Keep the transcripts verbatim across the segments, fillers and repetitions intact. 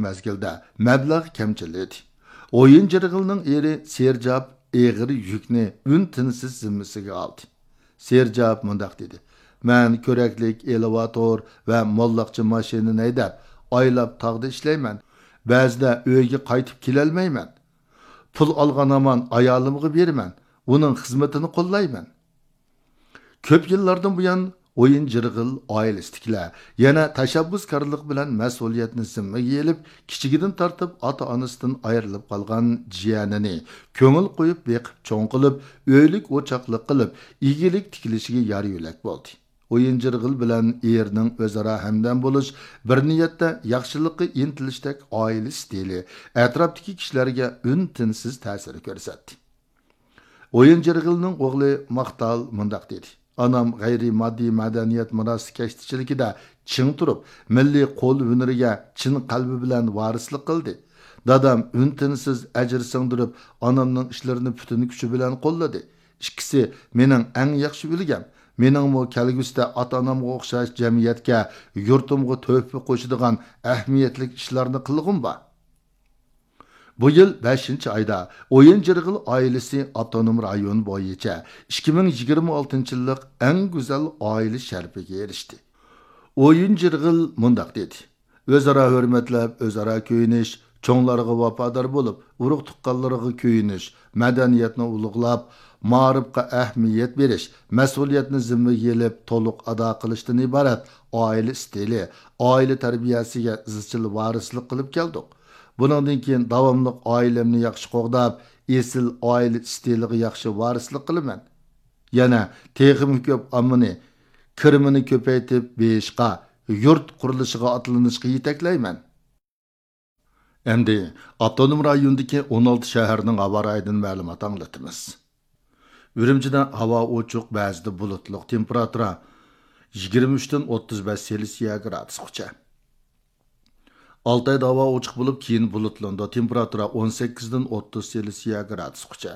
مەزگىلدە مەبلەغ كەمچىل ئىدى. ئويۇن جىرغىلنىڭ ئېرى سېرجاپ ئېغىر يۈكنى ئۈن-تىنسىز زىممىسىگە ئالدى. سېرجاپ مۇنداق دېدى: «مەن كۆرەكلىك ئېلېۋاتور ۋە موللاقچە ماشىنىنى ھەيدەپ، ئايلاپ تاغدا ئىشلەيمەن. بەزىدە ئۆيگە قايتىپ كېلەلمەيمەن. پۇل ئالغان ھامان ئايالىمغا بېرىمەن، ئۇنىڭ خىزمىتىنى قوللايمەن.» كۆپ يىللاردىن بۇيان ئويۇن جىرغىل ئائىلىسىدىكىلەر يەنە تەشەببۇسكارلىق بىلەن مەسئۇلىيەتنى زىممىگە ئېلىپ، كىچىكىدىن تارتىپ ئاتا-ئانىسىدىن ئايرىلىپ قالغان جىيەنىنى كۆڭۈل قويۇپ بېقىپ چوڭ قىلىپ، ئۆيلۈك ئوچاقلىق قىلىپ، ئىگىلىك تىكلىشىگە يار يۆلەك بولدى. ئويۇن جىرغىل بىلەن ئېرىنىڭ ئۆزئارا ھەمدەم بولۇش، بىر نىيەتتە ياخشىلىققا ئىنتىلىشتەك ئائىلە ئىستىلى ئەتراپتىكى كىشىلەرگە ئۈن-تىنسىز تەسىر كۆرسەتتى. ئويۇن جىرغىلنىڭ ئوغلى ماختال مۇنداق دېدى: «ئانام غەيرىي ماددىي مەدەنىيەت مىراسى كەشتىچىلىكىدە چىڭ تۇرۇپ، مىللىي قول ھۈنىرىگە چىن قەلبى بىلەن ۋارىسلىق قىلدى. دادام ئۈن-تىنسىز ئەجىر سىڭدۈرۈپ، ئانامنىڭ ئىشلىرىنى پۈتۈن كۈچى بىلەن قوللىدى. ئىككىسى مېنىڭ ئەڭ ياخشى ئۈلگەم. مېنىڭمۇ كەلگۈسىدە ئاتا-ئانامغا ئوخشاش جەمئىيەتكە، يۇرتۇمغا تۆھپە قوشىدىغان ئەھمىيەتلىك ئىشلارنى قىلغۇم بار.» بۇ يىل بەشىنچى ئايدا ئويۇن جىرغىل ئائىلىسى ئاپتونوم رايون بويىچە ئىككى مىڭ يىگىرمە ئالتىنچى يىللىق ئەڭ گۈزەل ئائىلە شەرىپىگە ئېرىشتى. ئويۇن جىرغىل مۇنداق دېدى: «ئۆزئارا ھۆرمەتلەپ، ئۆزئارا كۆيۈنۈش، چوڭلارغا ۋاپادار بولۇپ، ئۇرۇق-تۇغقانلىرىغا كۆيۈنۈش، مەدەنىيەتنى ئۇلۇغلاپ، مائارىپقا ئەھمىيەت بېرىش، مەسئۇلىيەتنى زىممىگە ئېلىپ، تولۇق ئادا قىلىشتىن ئىبارەت ئائىلە ئىستىلى، ئائىلە تەربىيەسىگە ئىزچىل ۋارىسلىق قىلىپ كەلدۇق. بۇنىڭدىن كېيىن داۋاملىق ئائىلەمنى ياخشى قوغداپ، ئېسىل ئائىلە ئىستىلىغا ياخشى ۋارىسلىق قىلىمەن. يەنە تېخىمۇ كۆپ ئاممىنى، كىرىمىنى كۆپەيتىپ بېيىشقا، يۇرت قۇرۇلۇشىغا ئاتلىنىشقا يېتەكلەيمەن.» ئەمدى ئاپتونوم رايوندىكى ئون ئالتە شەھەرنىڭ ھاۋا رايىدىن مەلۇمات ئاڭلىتىمىز. ئۈرۈمچىدە ھاۋا ئوچۇق، بەزىدە بۇلۇتلۇق، تېمپېراتۇرا يىگىرمە ئۈچتىن ئوتتۇز بەش سېلسىيە گرادۇسقىچە. ئالتايدا ھاۋا ئوچۇق بولۇپ، كېيىن بۇلۇتلىنىدۇ، تېمپېراتۇرا ئون سەككىزدىن ئوتتۇز سېلسىيە گرادۇسقىچە.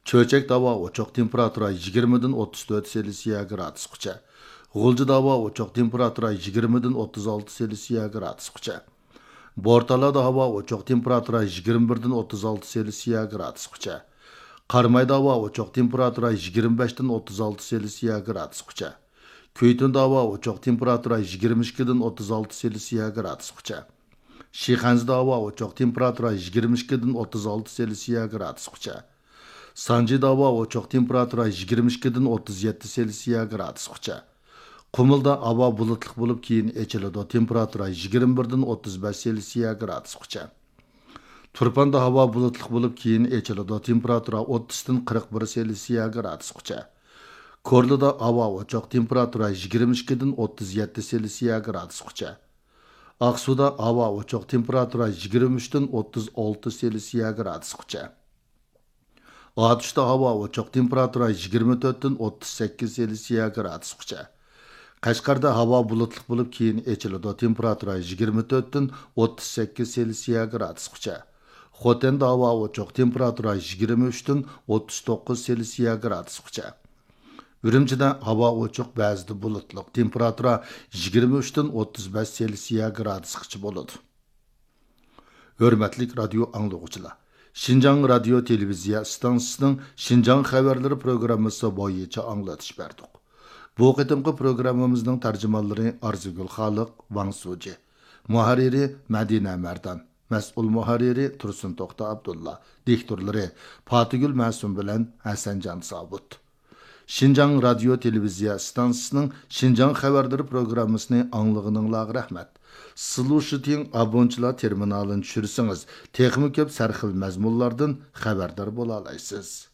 چۆچەكتە ھاۋا ئوچۇق، تېمپېراتۇرا يىگىرمىدىن ئوتتۇز تۆت سېلسىيە گرادۇسقىچە. غۇلجىدا ھاۋا ئوچۇق، تېمپېراتۇرا يىگىرمىدىن ئوتتۇز ئالتە سېلسىيە گرادۇسقىچە. بورتالادا ھاۋا ئوچۇق، تېمپېراتۇرا يىگىرمە بىردىن ئوتتۇز ئالتە سېلسىيە گرادۇسقىچە. قارامايدا ھاۋا ئوچۇق، تېمپېراتۇرا يىگىرمە بەشتىن ئوتتۇز ئالتە سېلسىيە گرادۇسقىچە. كۈيتۇندا ھاۋا ئوچۇق، تېمپېراتۇرا يىگىرمە ئىككىدىن ئوتتۇز ئالتە سېلسىيە گرادۇسقىچە. شىخەنزىدە ھاۋا ئوچۇق، تېمپېراتۇرا يىگىرمە ئىككىدىن ئوتتۇز ئالتە سېلسىيە گرادۇسقىچە. سانجىدا ھاۋا ئوچۇق، تېمپېراتۇرا يىگىرمە ئىككىدىن ئوتتۇز يەتتە سېلسىيە گرادۇسقىچە. قۇمۇلدا ھاۋا بۇلۇتلۇق بولۇپ، كېيىن ئېچىلىدۇ، تېمپېراتۇرا يىگىرمە بىردىن ئوتتۇز بەش سېلسىيە گرادۇسقىچە. تۇرپاندا ھاۋا بۇلۇتلۇق بولۇپ، كېيىن ئېچىلىدۇ، تېمپېراتۇرا ئوتتۇزدىن قىرىق بىر سېلسىيە گرادۇسقىچە. كورلىدا ھاۋا ئوچۇق، تېمپېراتۇرا يىگىرمە ئىككىدىن ئوتتۇز يەتتە سېلسىيە گرادۇسقىچە. ئاقسۇدا ھاۋا ئوچۇق، تېمپېراتۇرا يىگىرمە ئۈچتىن ئوتتۇز ئالتە سېلسىيە گرادۇسقىچە. ئاتۇشتا ھاۋا ئوچۇق، تېمپېراتۇرا يىگىرمە تۆتتىن ئوتتۇز سەككىز سېلسىيە گرادۇسقىچە. قەشقەردە ھاۋا بۇلۇتلۇق بولۇپ، كېيىن ئېچىلىدۇ، تېمپېراتۇرا يىگىرمە تۆتتىن ئوتتۇز سەككىز سېلسىيە گرادۇسقىچە. خوتەندە ھاۋا ئوچۇق، تېمپېراتۇرا يىگىرمە ئۈچتىن ئوتتۇز توققۇز سېلسىيە گرادۇسقىچە. ئۈرۈمچىدە ھاۋا ئوچۇق، بەزىدە بۇلۇتلۇق، تېمپېراتۇرا يىگىرمە ئۈچتىن ئوتتۇز بەش سېلسىيە گرادۇسقىچە بولىدۇ. ھۆرمەتلىك رادىيو ئاڭلىغۇچىلار! شىنجاڭ رادىيو تېلېۋىزىيە ئىستانسىسىنىڭ شىنجاڭ خەۋەرلىرى پروگراممىسى بويىچە ئاڭلىتىش بەردۇق. بۇ قېتىمقى پروگراممىمىزنىڭ تەرجىمانلىرى ئارزۇگۈل خالىق، ۋاڭ سۇجى. مۇھەررىرى مەدىنە مەردان. مەسئۇل مۇھەررىرى تۇرسۇن توختى ئابدۇللا. دىكتورلىرى پاتىگۈل مەسۇم بىلەن ھەسەنجان سابىت. شىنجاڭ رادىيو تېلېۋىزىيە ئىستانسىسىنىڭ شىنجاڭ خەۋەرلىرى پروگراممىسىنى ئاڭلىغىنىڭلارغا رەھمەت. سلۇشىتىڭ ئابونچىلار تېرمىنالىنى چۈشۈرسىڭىز، تېخىمۇ كۆپ سەرخىل مەزمۇنلاردىن خەۋەردار بولالايسىز.